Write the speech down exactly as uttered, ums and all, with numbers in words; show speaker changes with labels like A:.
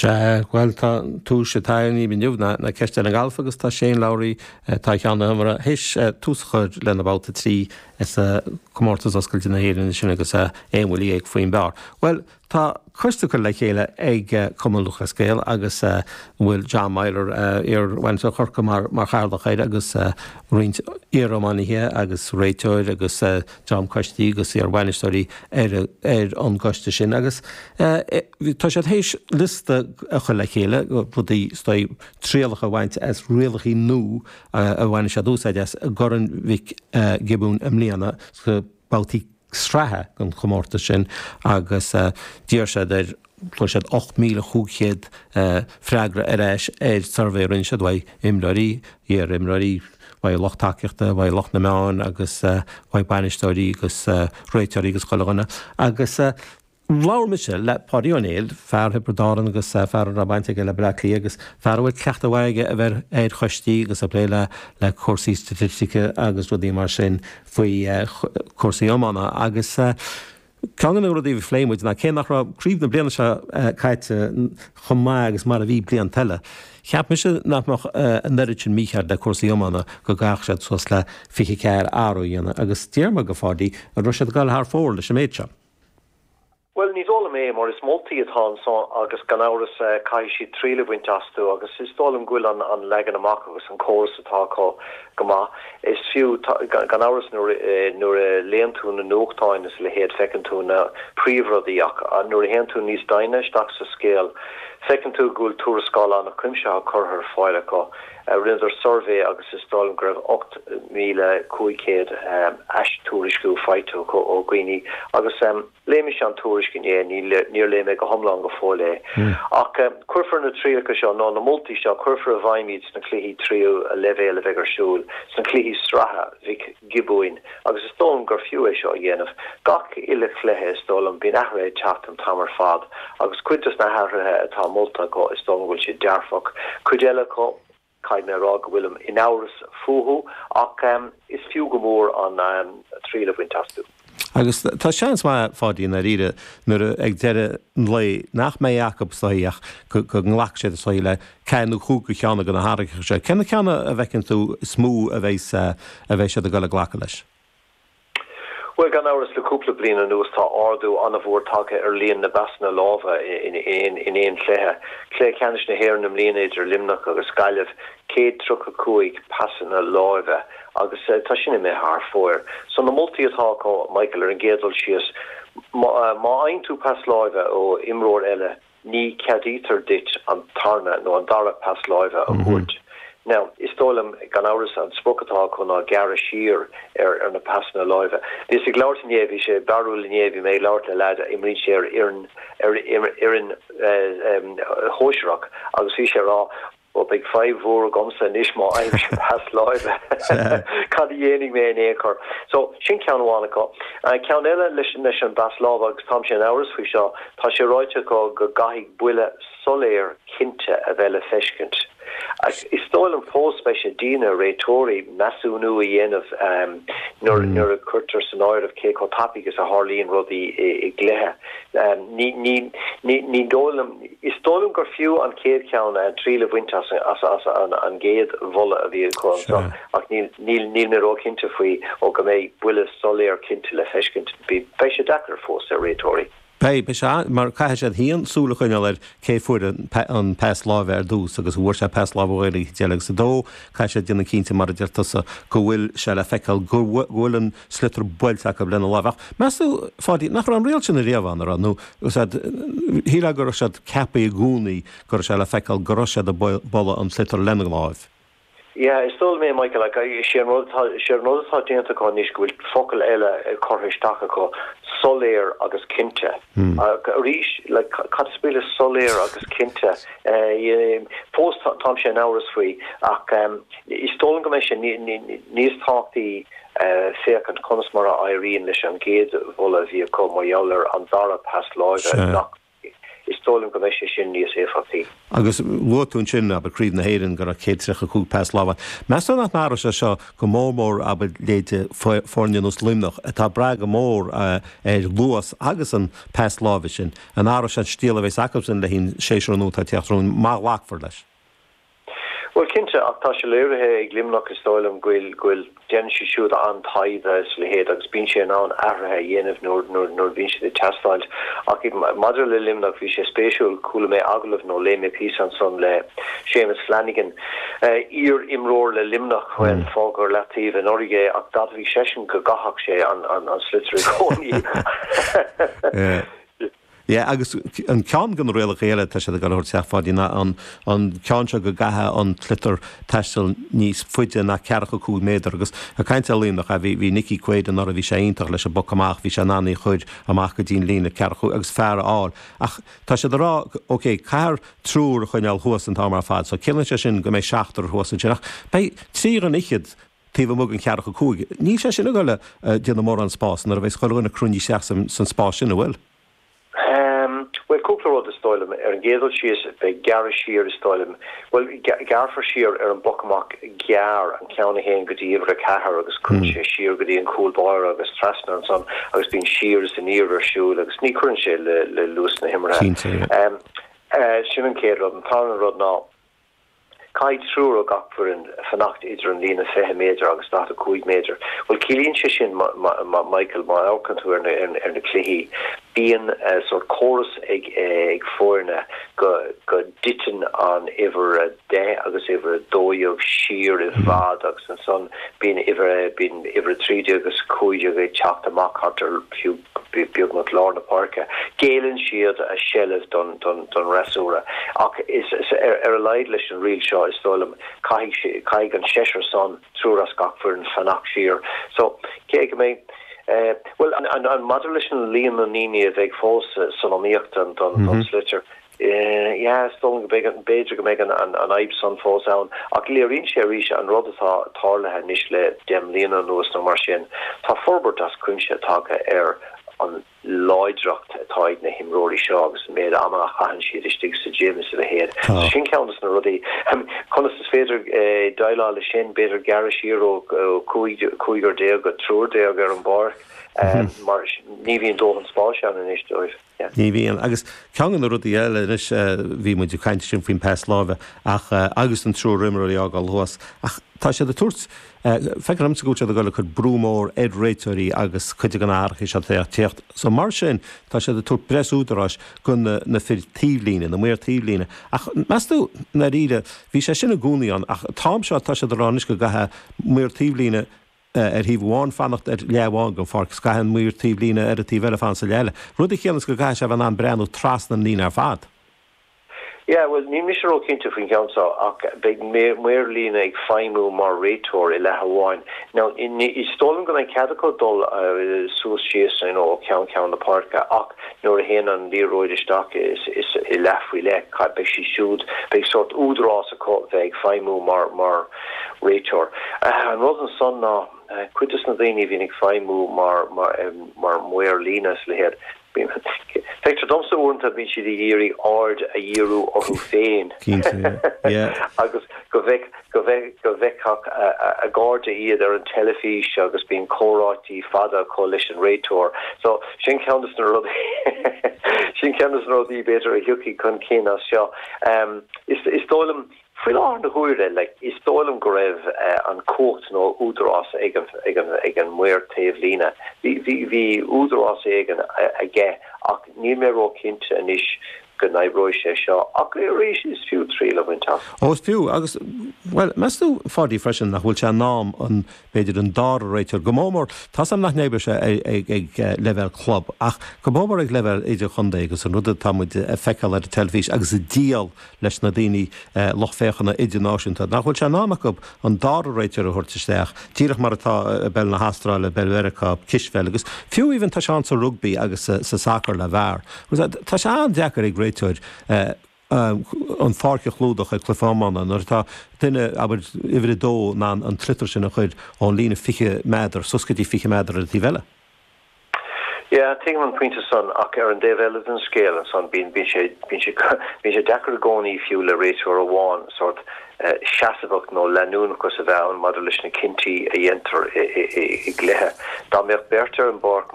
A: Sea, bhuel tá tús atá inniu na na ceist ar an galf agus tá Shane Lowry tá ceann na himeartha théis tús a chur lena babhta trí sa comórtas oscailte na hÉireann sin agus aon bhuille dhéag faoin bpar. Bhuel tá coiste curtha le chéile ag Cumann Lúthchleas Gael agus bhfuil John Meyler iar-bhainisteoir Chorcaí mar mar chathaoirleach air agus roinnt iar-iománaithe agus réiteoir agus dream coistí agus iar-bhainisteoirí ar ar an gcoiste sin agus tá siad théis liosta a chur le chéile rudaí trialacha a bhaint as rialacha nua a bhain siad úsáid as i gCorn Mhic Giobúin i mbliana sa babhtaí sraithe den chomórtas sin agus d'iarr siad ar fuair siad ocht míle chúig chéad freagra ar ais ar suirbhé a rinne siad uaidh imreoirí, iar-imreoirí, uaidh lucht tacaíochta, uaidh lucht na meán agus uaidh bainisteoirí agus réiteoirí agus chuile dhuine agus labhair mise le Páidí Ó Néill, fear Thiobraid Árann agus fear a raibh baint aige le Bleá Cliath agus fear a bhfuil cleachtadh mhaith aige a bheith ar choistí agus ag plé le le cúrsaí staitistice agus rudaí mar sin faoi chúrsaí iomána agus ceann de na rudaí a phléigh muid ná cé nach raibh craobh na bliana seo caite chomh maith agus mar a bhí blianta eile, cheap mise nach mbeadh an oiread sin mícheart le cúrsaí iomána go gcaithfeadh siad suas le fiche ceathair athrú a dhéanamh agus d'iarr mé de Pháidí an raibh siad ag dul thar fóir leis an méid seo.
B: Bhuel, ní dóigh liom é, mar is moltaí atá anso agus gan amhras caithfidh siad triail a bhaint astu agus is dóigh liom go bhfuil an an leagan amach agus an córas atá acu go maith. Is fiú, gan amhras nuair nuair a léann tú na nuachtáin is a leithéid feiceann tú na príomhrudaí ach nuair a théann tú níos doimhne isteach sa scéal feiceann tú go bhfuil tuarascáil an-chuimsitheach curtha ar fáil acu. Rinneadar suirbhé agus is dóigh liom go raibh ocht míle cúig chéad ais-tuairisciú faighte acu ó dhaoine agus Léigh mise an tuairisc inné, níor léigh mé go hiomlán go fóill é. Ach cuirfear na trialacha seo, nó na moltaí seo, cuirfear i bhfeidhm iad sna cluichí tríú leibhéal a bheidh ar siúl, sna cluichí sraithe Mhic Giobúin, agus is dóigh liom gur fiú é seo a dhéanamh. Gach uile chluiche, is dóigh liom, bíonn athruithe ag teacht an t-am ar fad, agus cuid dos na hathruithe atá molta acu, is dóigh liom go bhfuil siad dearfach. Cuid eile acu. Caithfidh mé a rá go bhfuilim in amhras fúthu, ach is fiú go mór an triail a bhaint astu.
A: Agus tá seans maith, a Pháidí, i ndáiríre, nuair a, ag deireadh an lae, nach mbeidh acu is dóigh ach go nglacfaidh siad is dóigh le ceathair nó cúig de cheann de na hathruithe seo. Cé na ceanna a bhfeiceann tú is mó a bheidh, a bheidh siad ag dul ag glacadh leis?
B: Bhuel, gan amhras, le cúpla bliain anuas tá ardú an-mhór tagtha ar líon na bpasanna láimhe in aon chluiche. Cluiche Ceannais na hÉireann i mbliana idir Luimneach agus Gaillimh, céad tríocha cúig pasanna láimhe agus tá sin imithe thar fóir. So na moltaí atá acu, Michael, ar an gcéad dul síos, má fhaigheann tú pas láimhe ó imreoir eile, ní cheadaítear duit an tarna nó an dara pas láimhe a thabhairt. Now, is dóigh liom, gan amhras, an sprioc atá acu ná gearradh siar ar ar na pasanna láimhe. Bhíos ag labhairt inné, bhí sé barrúil inné, bhí mé ag labhairt le leaid a imríonn sé ar fhoireann ar fhoireann shóisearach agus bhí sé ag rá, Ó, beidh fadhb mhór agamsa anois má fhaighimse pas láimhe. Cad a dhéanfaidh mé in aon chor? So, sin ceann amháin acu. Ceann eile leis leis an bpas láimhe, agus táimse in amhras faoi seo, tá sé ráite acu go gcaithfidh buille soiléir cinnte a bheith le feiscint. Is dóigh liom fós beidh sé dian ar réiteoirí measúnú a dhéanamh nuair nuair a cuirtear san áireamh cé chomh tapaidh is a tharlaíonn rudaí i gcluiche. Ní ní ní ní dóigh liom. Is dóigh liom gur fiú an chéad cheann, triail a bhaint as an gcéad mholadh a bhí acu anseo, ach níl mé róchinnte faoi ó go mbeidh buille soiléir cinnte le feiscint. Beidh sé deacair fós ar réiteoirí.
A: Beidh, beidh sé, mar caithfidh siad féin súil a choinneáil ar cé fuair an pas láimhe ar dtús agus an bhfuair sé pas láimhe ó dhuine éicint eile agus a dó, caithfidh siad déanamh cinnte, mar a deir tusa, go bhfuil sé le feiceáil go bhfuil an sliotar buailte acu lena láimh. Ach meas tú, a Pháidí, nach raibh an riail sin ariamh ann, an raibh? Nó shílfeá go raibh siad ceaptha i gcónaí go raibh sé le feiceáil go raibh siad ag bualadh an tsliotair lena láimh.
B: Yeah, is dóigh liom é, Michael, ach is é an rud atá, is é an rud atá déanta acu anois go bhfuil focal eile curtha isteach acu, soiléir agus cinnte. Ach arís, like, cad is brí le soiléir agus cinnte? Fós táimse in amhras faoi, ach is dóigh liom go mbeidh sé níos tábhachtaí féachaint conas mar a éiríonn leis an gcéad mholadh a bhí acu mar gheall ar an dara pas láimhe nach is dóigh liom go mbeidh sé sin níos éifeachtaí.
A: Agus luaigh tú ansin, abair, Craobh na hÉireann, go raibh céad tríocha cúig pas láimhe. Meas tú nach n-athróidh sé seo go mór mór, abair, leithéide foirne ar nós Luimneach, atá ag brath go mór ar luas agus an pas láimhe sin? An athróidh sé an stíl a bheas acusan le haghaidh an séasúr nua atá ag teacht romhainn, má ghlacfar leis?
B: Bhuel, cinnte, ach tá sé léirithe ag Luimneach, is dóigh liom, go bhfuil, go bhfuil, déanann siad siúd an-taighde is a leithéid agus bíonn sé in ann athruithe a dhéanamh nuair, nuair, nuair a bhíonn siad ag teastáilt. Ach maidir le Luimneach, bhí sé spéisiúil, chuala mé agallamh nó léigh mé píosa ansan le Séamus Flanagan, iar-imreoir le Luimneach, bhuel, fágadh ar leataobh anuraidh é ach d'admhaigh seisean go gcaithfeadh sé an, an, an sliotar i gcónaí.
A: Yeah, agus an ceann de na rialacha eile atá siad ag dul a thabhairt isteach, a Pháidí, ná an an ceann seo go gcaithfidh an sliotar taisteal níos faide ná ceathracha cúig méadar agus ag caint ar Luimneach, bhí bhí Nicky Quaid anuraidh, bhí sé iontach leis an bpoc amach, bhí sé in ann í a chur amach go dtí an líne ceathracha cúig agus fear a fháil. Ach tá siad ag rá, ok, caithfear triúr a choinneáil thuas an t-am ar fad, so ciallaíonn sé sin go mbeidh seachtar thuas ansin ach beidh trí dhuine fhichead taobh amuigh den cheathracha cúig. Níl sé sin ag dul a déanamh mórán spáis nuair a bheas chuile dhuine cruinnithe isteach san spás sin, an bhfuil?
B: Bhuel, cúpla rud, is dóigh liom. Ar an gcéad dul síos, beidh gearradh siar, is dóigh liom. Bhuel, gearrfar siar ar an bpoc amach gearr, an ceann a théann go dtí uimhir a ceathair agus cuireann sé siar go dtí an cúl báire agus trasna ansan agus bíonn siar is aniar ar siúl agus ní chuireann sé le luas na himeartha. Sin an chéad rud. An tarna rud ná. Caithfidh triúr ó gach foireann fanacht idir an líne fiche méadar agus daichead a cúig méadar. Bhuel, ciallaíonn sé sin, Michael, má amharcann tú ar na cluichí, bíonn sórt córas ag foirne go dtiteann an uimhir a deich agus uimhir a dó dhéag siar i bhfad agus ansan bíonn uimhir a trí déag agus a cúig déag ag teacht amach thart ar fiú beagnach lár na páirce. Géilleann siad a seilbh don fhreasúra. Ach ar a laghad leis an riail seo, is dóigh liom, caithfidh caithfidh an seisear san, triúr as gach foireann, fanacht siar. So, cé go mbeidh, bhuel, an maidir leis an líon na ndaoine a bheidh fós san iomaíocht don sliotar, Yeah, is dóigh liom go mbeidh, b'fhéidir go mbeidh an fhadhb san fós ann, ach léiríonn sé arís an rud atá tarlaithe anois le deich mbliana anuas nó mar sin. Tá forbairt as cuimse tagtha ar an láidreacht atá ag na himreoirí seo agus an méid ama a chaitheann siad istigh sa gym is a leithéid. So sin ceann de na rudaí. Conas is féidir déileáil leis sin? B'fhéidir gearradh siar ó cúigear déag go triúr déag ar an bpáirc mar ní bhíonn dóthain spáis ann anois dóibh.
A: Ní bhíonn. Agus ceann de na rudaí eile anois, bhí muid ag caint ansin faoin pas láimhe ach, agus an triúr imreoirí a fhágáil thuas, ach tá siad ag tabhairt, feictear domsa go bhfuil siad ag dul ag cur brú mór ar réiteoirí agus cuid de na hathruithe seo ag teacht. So mar sin, tá siad ag tabhairt breis údaráis go na, na fir taobhlíne, na maoir taobhlíne. Ach meas tú, i ndáiríre, bhí sé sin i gcónaí ann, ach an t-am seo tá siad ag rá anois go gcaithfidh maor taobhlíne, ar thaobh amháin fanacht ar leath amháin den pháirc, is caithfidh an maor taobhlíne ar an taobh eile fanacht sa leath eile, rud a chiallaíonns go gcaithfidh sé a bheith in ann breathnú trasna an líne ar fad.
B: Yeah, bhuel, níl mise ró-chinnte faoin gceann seo, ach beidh maor líne ag feidhmiú mar réiteoir i leath amháin. Now, is dóigh liom go mbeidh cead acu dul suas síos, you know, ó cheann ceann na páirce, ach nuair a théann an liathróid isteach i leath faoi leith, beidh siad siúd, beidh sórt údarás acu bheith ag feidhmiú mar, mar réiteoir. An rud ansan ná, cuid de na daoine a bhíonn ag feidhmiú mar mar maor líne is a leithéid, feictear domsa uaireanta bíonn siad ag iarraidh aird a dhíriú orthu féin agus go go bhfeicfeadh a gcairde iad ar an teilifís agus bíonn comhráití fada acu leis an réiteoir. So sin ceann de na rudaí sin ceann de na rudaí b'fhéidir a thiocfaidh chun cinn as seo. Is dóigh liom Faoi láthair na huaire, like, is dóigh liom go raibh an cumhacht nó údarás ag an, ag an, ag an maor taobhlíne. Bhí, bhí, bhí údarás éigin aige ach níl mé ró-chinnte anois go n-oibreoidh sé seo. Ach arís, is fiú triail a bhaint as.
A: Ó, is fiú. Agus, bhuel, meas tú, a Pháidí, freisin, nach bhfuil sé in am an, b'fhéidir, an dara réiteoir, go mór mór, tá's a'm nach n-oibreoidh sé ag, ag leibhéal club, ach go mór mór ag leibhéal idirchontae agus an rud atá muid a feiceáil ar an teilifís agus ag díol leis na daoine, lucht féachana idirnáisiúnta, nach bhfuil sé in am acu an dara réiteoir a thabhairt isteach, díreach mar atá i bpeil na hAstráile, i bpeil Mheiriceá, cispheil agus fiú even tá sé ann sa rugbaí agus sa sacar le VAR. Tá sé an-deacair ag réiteoir an pháirc a chlúdach ag cluiche iomána nuair atá duine, abair, uimhir a dó in ann an sliotar sin a chur ón líne fiche méadar suas go dtí fiche méadar ar an taobh eile.
B: Yeah, tuigim an pointe san ach ar an dtaobh eile den scéal ansan bíonn bíonn sé bíonn sé bíonn sé deacair i gcónaí fiú le réiteoir amháin sort uh, seasamhacht nó leanúnachas a bheith ann maidir leis na cinntí a dhéantar i gcluiche. Dá mbeadh beirt ar an bpáirc